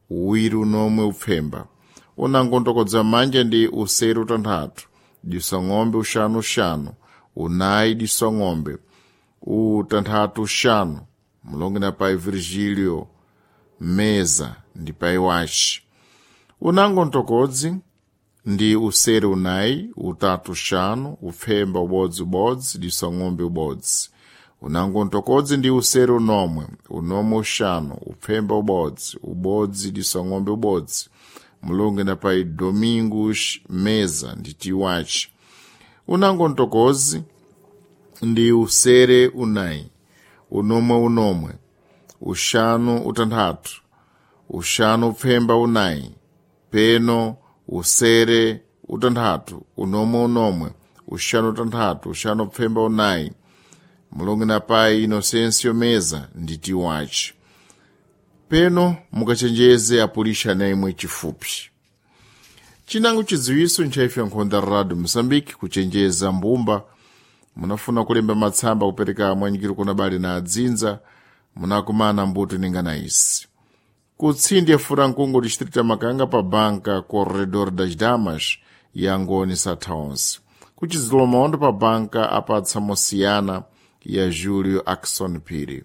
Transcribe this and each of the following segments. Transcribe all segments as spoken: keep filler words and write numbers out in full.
Uwiri unomwe upfemba unango ntokodza manja ndi usere utanthatu disang'ombe uxanu uxanu unayi disang'ombe utanthatu uxanu mulongo na pai Virgílio Meza ndi pai wace unango ntokodzi ndi usere unayi utatu uxanu upfemba ubodzi ubodzi disang'ombe ubodzi unango ntokodzi ndi usere unomwe unomwe uxanu upfemba ubodzi ubodzi disang'ombe ubodzi mulongo na pai Domingos Meza ndi tiwace unango ntokozi ndi usere unayi unomwe unomwe uxanu utanthatu uxanu upfemba unayi peno usere utanthatu unomwe unomwe uxanu utanthatu uxanu upfemba unayi mulongo na pai Inocêncio Meza ndi tiwace peno mukachenjeze apulisha na imwe chifupi chinango chidziwiso nchaife nkhonda radio Moçambique kuchenjeza mbumba munafuna kulemba matsamba kupereka mwanyikiro kuna bali na adzinza munakumana mbuto ningana isi kutsindi ya furankungu distrito ya makanga pa banka corredor das damas ya ngoni satha onse kuchidzilo maondo pa banka apatsa mosiyana ya Julio Axon Phiri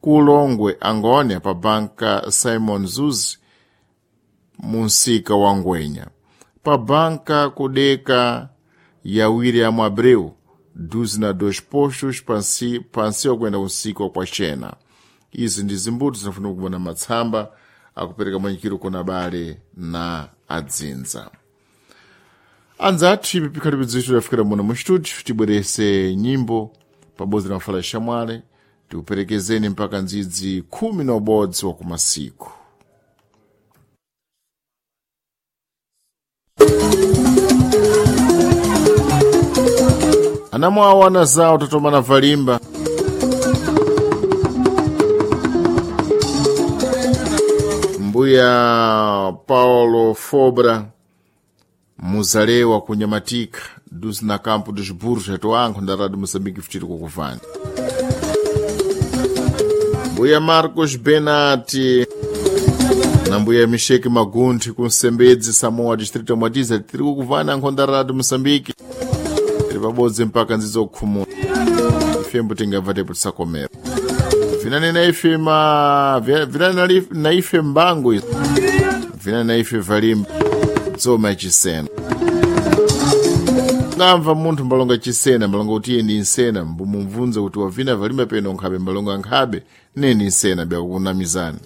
kulongwe angoni pa banka Simon Zuzi munsika wa ngwenya pa banka kudeka ya William Abreu duzi na dois postos pansi pansi wakuenda kunsika kwa chena izi ndi zimbuto zinafuna kubona matsamba akupereka mwanyikiro kuna bale na adzinza anzathu ipi pikhalipo bzitu tafikira muno mu studio tibwerese nyimbo pabodzi na mafala shamwale tikuperekezeni mpaka ndzidzi khumi na ubodzi wa kumasiku anamwawo ana zawo tatomana valimba mbuya paulo fobra muzalewa kunyamatika duzi na campo dos burros atoankho nda radio moçambique futiri kukuvani mbuya marcos benati na mbuya misheki magunthi kunsembedzi samoa distrito mwatiza tiri kukuvana nkhonda radio moçambique tiri pabodzi mpaka nzidzo kukhumula ifembo tingabva tepo tisakomera vinani na ife ma vinani na ife mbango vinani na ife valimba dzoma yachisena ngamva munthu mbalonga chisena mbalonga kuti iye ndi nsena mbumumvunza kuti wavina valimba peno nkhabe mbalonga nkhabe neni nsena byakukunamizani